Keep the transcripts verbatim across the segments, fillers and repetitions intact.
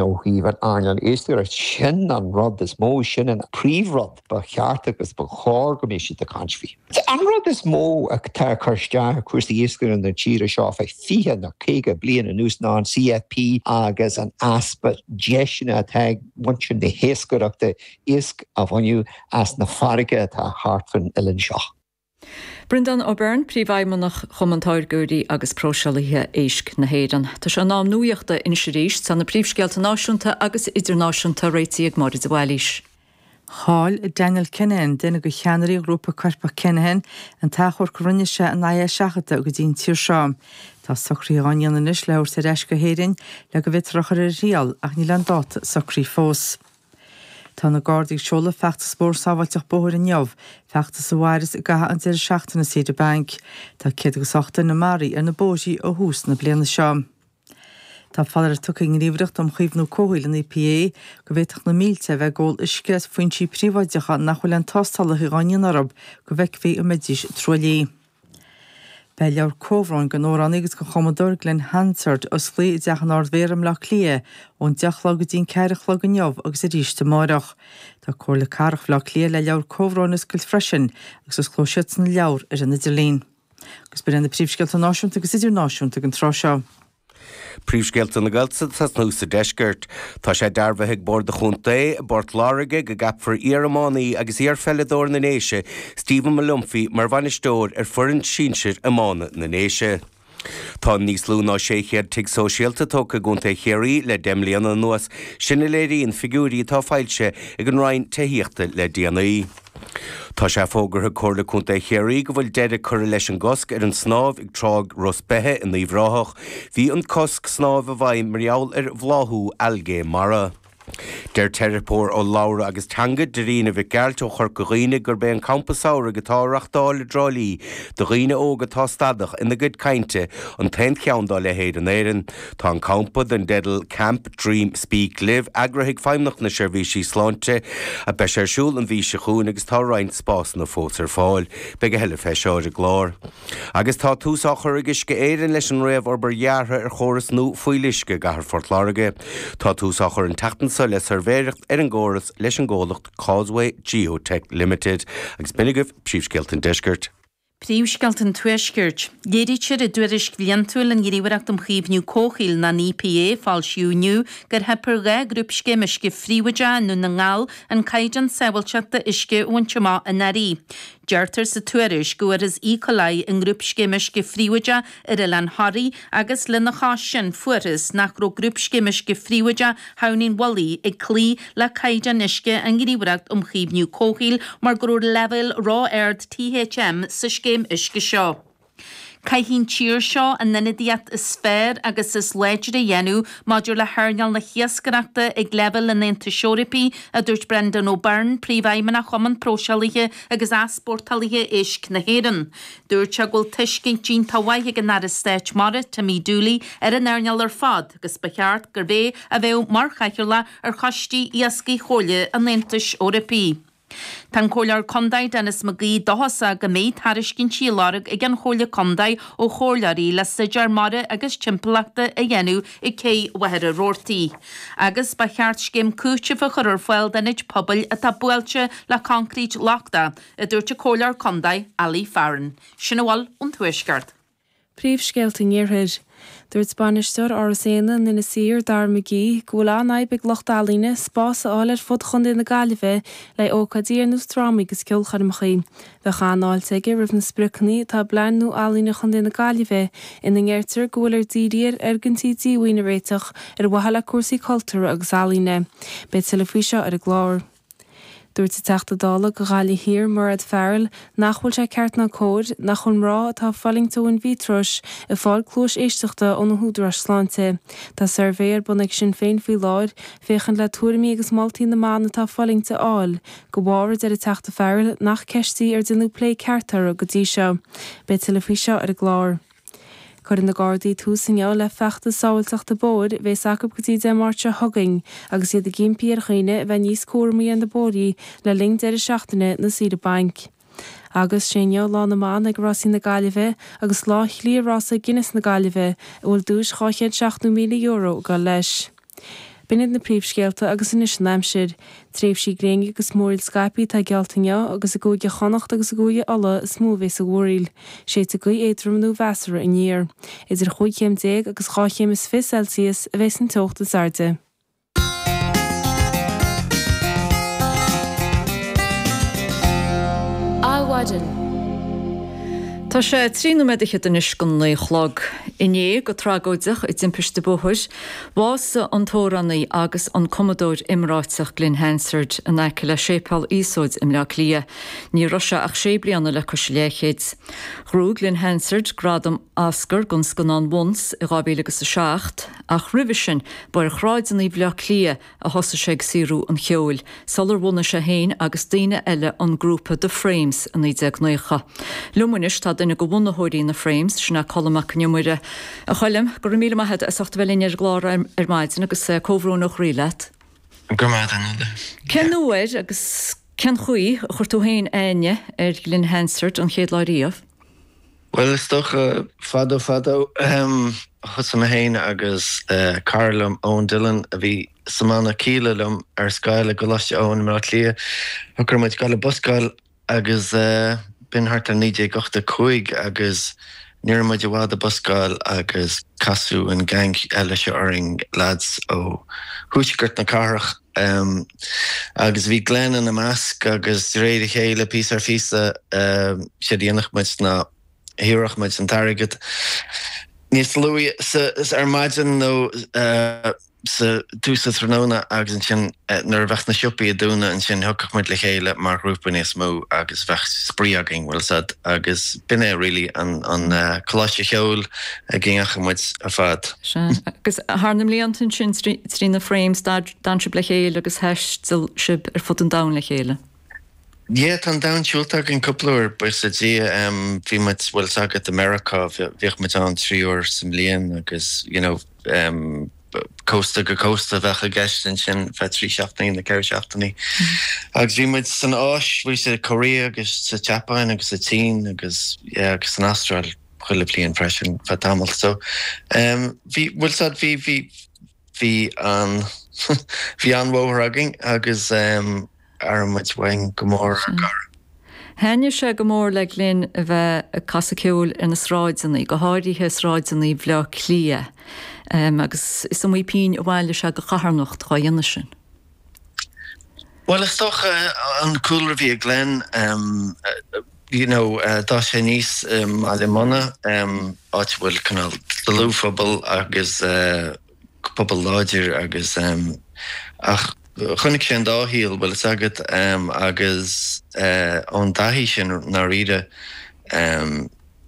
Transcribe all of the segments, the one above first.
Ó thaobh an earnáil iascaireachta, sin an rud is mó, sin an príomhrud ba cheart agus ba chóir go mbeadh siad ag caint faoi. An rud is mó atá ag cur isteach ar chúrsaí iascaireachta na tíre seo feadh fiche nó caoga bliain anuas ná an C F P agus an easpa deiseanna atá ag muintir na hiascaireachta iasc a bhaint as na farraige atá thart fan oileán seo. Breandán Ó Beirn, príomhfheidhmeannach Chumann Táirgeoirí agus Próiseálaithe Éisc na hÉireann. Tá sé in am nuachta anois arís, tá na príomhscéalta náisiúnta agus idirnáisiúnta réitithe ag Máire de Bhailís. Chaill Daniel Kinahan, duine de cheannairí ghrúpa coirpeach Kinahan, an t-achomharc a rinne sé in aghaidh a seachadta go dtí an tír seo. Tá socruithe á ndéanamh anois le thabhairt ar ais go hÉirinn le go bhféadfar a chur ar a thriail ach níl an dáta socraithe fós. Tá na Gardaí ag seoladh feachtas mór sábháilteacht bóthair inniu, feachtas a mhairfeas i gcaitheamh an deireadh seachtaine saoire bainc. Tá céad agus ocht duine maraithe ar na bóithre ó thús na bliana seo. Tá foláireamh tugtha ag an nGníomhaireacht um Chaomhnú Comhshaoil an E P A go bhféadfadh na mílte a bheith ag ól uisce as foinsí príobháideacha nach bhfuil aon tástálacha á ndéanamh orthu go bhfeicfí an mbeidís truaillithe. Beidh leabhar comhbhróin den amhránaí agus den chumadóir Glen Hansard oscailte i dteach an Ard-Mhéara i mBleá Cliath ón deich a chlog go dtí an ceathair a chlog inniu agus arís amárach. Tá Comhairle Cathrach Bhaile Átha Cliath le leabhar comhbhróin a oscailt freisin agus osclóidh siadsan an leabhar ar an idirlíon. Agus b'in na príomhscéalta náisiúnta agus idirnáisiúnta den tráth seo. Príomhscéalta na Gaeltachta nó sa deisceart. Tá sé dearbhaithe ag Bord an Chontae i bPort Láirge go gceapfar iar-iománaí agus iarpheileadóir na nDéise Stephen Molumphy mar bhainisteoir ar foireann sinsir iomána na nDéise. Tá níos lú ná sé chéad tigh sóisialta tógtha i gContae Chiarraí le deich mbliana anuas, sin a léiríonn figiúirí atá foilsithe ag an Roinn Tithíochta le déanaí. Tá sé fógartha ag Comhairle Contae Chiarraí go bhfuil deireadh curtha leis an gcosc ar an snámh ag Trá Ros Beithe in Uíbh Ráthach, bhí an cosc snámh i bhfeidhm mar gheall ar bhláthú algae mara. Deir teiripeoir urlabhra agus teanga Dairena Mhic Gearailt ó Chorca Dhuibhne gurb é an campa samhraidh atá á reáchtáil i dTrá Lí do dhaoine óga atá stadach ina gcuid cainte an t-aon cheann dá leithéid in Éirinn. Tá an campa den dteideal Camp Dream Speak Live eagraithe ag Feidhmeannacht na Seirbhísí Sláinte a beidh ar siúl an mhí seo chugainn agus tá roinnt spásanna fós ar fáil. Beidh a thuilleadh fé seo ar an gclár. Agus tá tús á chur ag Uisce Éireann leis an réamhobair dheartha ar chóras nua fuíolluisce i gcathair Phort Láirge. Tá tús á chur an tseachtain seo le suirbhéireacht ar an gcóras leis an gcomhlacht Causeway Geotech Limited agus b'in agaibh príomhscéalta an deiscirt. Príomhscéalta an Tuaiscirt. Léirítear i dtuairisc bhliantúil an Ghníomhaireacht um Chaomhnú Comhshaoil an E P A foilsíodh inniu gur theip ar dhá ghrúpscéim uisce phríobháideach i nDún na nGall an caighdeán sábháilteachta uisce a bhaint amach anuraidh. Deirtear sa tuairisc go bhfuarthas E. coli i ngrúpscéim uisce phríobháideach ar Oileán Thoraí agus lena chois sin fuarthas nach raibh grúpscéim uisce phríobháideach Thamhnaigh an Mhullaigh ag cloí le caighdeán uisce an Ghníomhaireacht um Chaomhnú Comhshaoil mar go raibh leibhéal ró-ard T H M sa scéim uisce seo. Caithfidh an tír seo an ionadaíocht is fearr agus is láidre a dhéanamh maidir le hearnáil na hiascaireachta ag leibhéal an Aontais Eorpaigh, a dúirt Brendan O'Byrne, príomhfheidhmeannach Chumann Próiseálaithe agus Easpórtálaithe Éisc na hÉireann. Dúirt sé go bhfuil tuiscint iontach mhaith ag an Aire Stáit Mara Timmy Dooley ar an earnáil ar fad agus ba cheart gurbh é a bheadh mar chathaoirleach ar choistí iascaigh Chomhairle an Aontais Eorpaigh. Tá an Comhairleoir Contae Denis McGee dóchasach go mbeidh tairiscintí á lorg ag an Chomhairle Contae ó chomhairleoirí le staidéar mara agus timpeallachta a dhéanamh ag cé Mhachaire Rabhartaigh. Agus ba cheart scéim cúitimh a chur ar fáil d'ionaid pobail atá buailte le concrete lochtach, a dúirt an Comhairleoir Contae Ali Farren. Sin a bhfuil ón Tuaisceart. Príomhscéalta an Iarthair. Dúirt bainisteoir Áras Éanna in Inis Oírr Dara McGee go bhfuil an-fhadhb ag lucht ealaíne spás a fháil ar fud Chontae na Gaillimhe le ócáidí ar nós drámaí agus ceolchoirmeacha. Bheadh an-fháilte aige roimh na spriocanna atá i bplean nua ealaíne Chontae na Gaillimhe ina ndeirtear go bhfuil ar díriú ar fhoirgintí díomhaoin a réiteach ar mhaithe le cúrsaí cultúrtha agus ealaíne. Beidh tuilleadh faoi seo ar an gclár. Dúirt an Teachta Dála do Ghaillimh Thiar Mairéad Farrell nach bhfuil sé ceart ná cóir nach bhfuil mná atá ag fulaingt ó in-vitros ag fáil cluas éisteachta ó na húdaráis sláinte. Tá suirbhé ar bun ag Sinn Féin faoi láthair féachaint le tuairimí agus moltaí na mban atá ag fulaingt a fháil, de bharr a deir an Teachta Farrell nach ceist í ar déanadh plé ceart orthu go dtí seo. Beidh tuilleadh faoi seo ar an gclár. Cuirfidh na Gardaí tús inniu le feachtas sábháilteachta bóthair a bheas acu go dtí Dé Máirt seo chugainn, agus iad ag impí ar dhaoine a bheith níos cúramaí ar na bóithre le linn deireadh seachtaine na saoire bainc. Agus sé inniu Lá na mBan ag Rásaí na Gaillimhe agus lá Chliath Rása Guinness na Gaillimhe a bhfuil duais dhá chéad seachtó míle euro ag dul leis. B'in iad na príomhscéalta agus anois an aimsir. Tréimhsí gréine agus múraíl scaipthe atá geallta inniu agus i gCúige Chonnacht agus i gCúige Uladh is mó a bheas an mhúraíl. Séidfidh gaoth éadrom nó mheasartha aniar. Idir chúig chéim déag agus dhá chéim is fiche Celsius a bheas an teocht is airde. Adhmhaidin. Tá sé trí nóiméad fhichead anois go naoi a chlog. Inné, go tragóideach, i dtimpiste bóthair, bhásaigh an t-amhránaí agus an cumadóir iomráiteach Glen Hansard in aice le Séipéal Iosóid i mBleá Cliath. Ní raibh sé ach sé bliana le cois a leathchéid. Ghnóthaigh Glen Hansard gradam Oscar don scannán Once i dhá mhíle agus a seacht, ach roimhe sin ba ar shráideanna Bhaile Átha Cliath a thosaigh sé ag saothrú an cheoil, sular bhunaigh sé féin agus daoine eile an grúpa The Frames i naoi déag naocha. Liom anois tá duine de bhunaitheoirí na Frames, sin é Colm Mac Con Iomaire. A Choilm, go raibh míle maith agat as ucht a bheith linn ar an gclár ar maidin agus comhbhrón ó chroí leat. Go raibh maith agat, a Nuala. Cén uair agus cén chaoi a chuir tú féin aithne ar Glen Hansard an chéad lá riamh? Bhuel, is dócha, fadó fadó, thosaigh mé féin agus cara liom, Eoin Dillon, a bhí sa mbanna Kíla liom ar scoil i gColáiste Eoin i mBleá Cliath, shocraigh muid dul ag buscáil agus b'in thart ar naoi déag ochtó a cúig agus ní raibh muid i bhfad ag buscáil agus casadh an gang eile seo orainn, lads ó thuaisceart na cathrach agus bhí Glen ina measc agus de réir a chéile, píosa ar phíosa, séard a dhéanfadh muid ná thabharfadh muid an t-airgead níos luaithe ar maidin nó sa tús an tráthnóna agus ansin nuair a bheadh na siopaí ag dúnadh ansin thiocfadh muid le chéile mar ghrúpa níos mó agus bheadh spraoi againn, bhfuil 'fhios a'd, agus b'in é really an an coláiste cheoil a ndeachaigh muid ar fad. Sea, agus thar na mblianta ansin trí na Frames d'fhan sibh le chéile agus thaistil sibh ar fud an domhain le chéile. Yeah, tá an domhan siúlta againn cúpla uair, buíochas le Dia. Bhí muid, bhfuil 'fhios agat, i Meiriceá, bhíodh muid ann trí uair sa mbliain agus, you know, cósta go cósta a bheadh i gceist ansin, feadh trí seachtainí nó ceithre seachtainí. Agus bhí muid san Áis, bhí sa Korea agus sa tSeapáin agus sa tSín agus, yeah, agus san Astráil chuile bhliain freisin feadh tamaill. So, bhí, bhfuil 'fhios a'd, bhí, bhí, bhí an, bhí an-bhóthar againn agus, Airíonn muid uainn go mór ár gcara. Thaitnigh sé go mór le Glen a bheith ag casadh ceoil ar na sráideanna, go háirithe sráideanna Bhaile Átha Cliath, agus is iomaí pingin a bhailigh sé do charthanacht dhá dhéanamh sin. Bhuel, is dócha an cúlra a bhí ag Glen, you know, d'fhás sé aníos i mBaile Munna, áit a bhfuil cineál dlúthphobal agus pobal láidir agus ach chonaic sé an dá shaol, bhfuil fhios agat, agus ón dtaithí sin i ndáiríre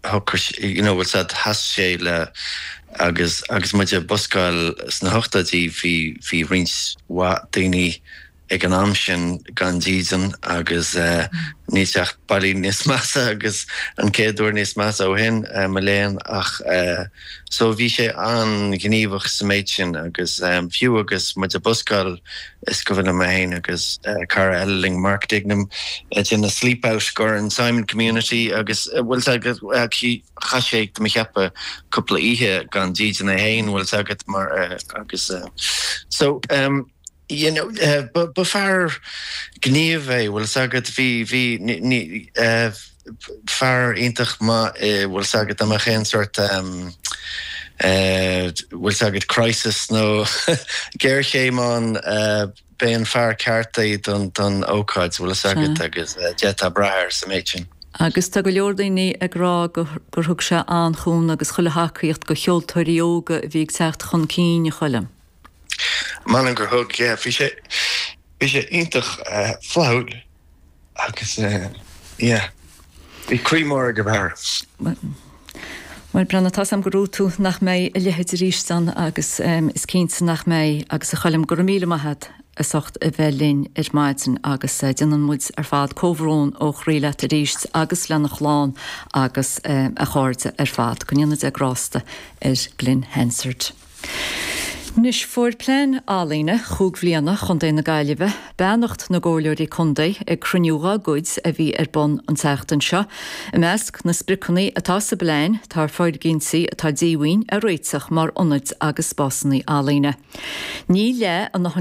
shocraigh, you know, bhfuil fhios agat, sheas sé le agus agus muid ag buscáil sna hochtóidí bhí bhí roinnt mhaith daoine ag an am sin gan dídean agus níl sé ach bailí níos measa agus an céad uair níos measa ó shin, mo léan, ach so bhí sé an-ghníomhach sa méid sin agus fiú agus muid ag buscáil is cuimhin liom mé féin agus cara eile linn, Mark Dignam, ag déanamh sleep out go an Simon Community agus bhfuil 's agat chaith sé tá mé ag ceapadh cúpla oíche gan dídean é féin bhfuil 's agat mar agus so You know, ba fear gníomh é, bhfuil 's agat, bhí, bhí, ní, fear iontach maith, bhfuil 's agat, dá mbeadh aon sort, bhfuil 's agat, crisis nó géarchéim ann, b'é an fear ceart é don, don ócáid, bhfuil 's agat, agus d'fhéadfá brath air sa méid sin. Agus tá go leor daoine ag rá gur thug sé an-chúnamh agus chuile thacaíocht do cheoltóirí óga a bhí ag teacht chun cinn, a Choilm. M'anam gur thug, yeah. Bhí sé, bhí sé iontach flaithiúil agus yeah, bhí croí mór ag an bhfear. Bhuel, Breandán, tá's a'm gur dhúirt tú nach mbeidh a leithéid arís ann agus is cinnte nach mbeidh agus a Choilm, go raibh míle maith a't as ucht a bheith linn ar maidin agus déanann muid ar fad comhbhrón ó chroí leat arís agus lena chlann agus a chairde ar fad. Go ndéana Dia grásta ar Glen Hansard. Anois fuair plean ealaíne chúig bhliana Chontae na Gaillimhe beannacht na gcomhairleoirí contae ag cruinniú dá gcuid a bhí ar bun an tseachtain seo. I measc na spriocanna atá sa bplean tá foirgintí atá díomhaoin a réiteach mar ionaid agus spásanna ealaíne. Ní le an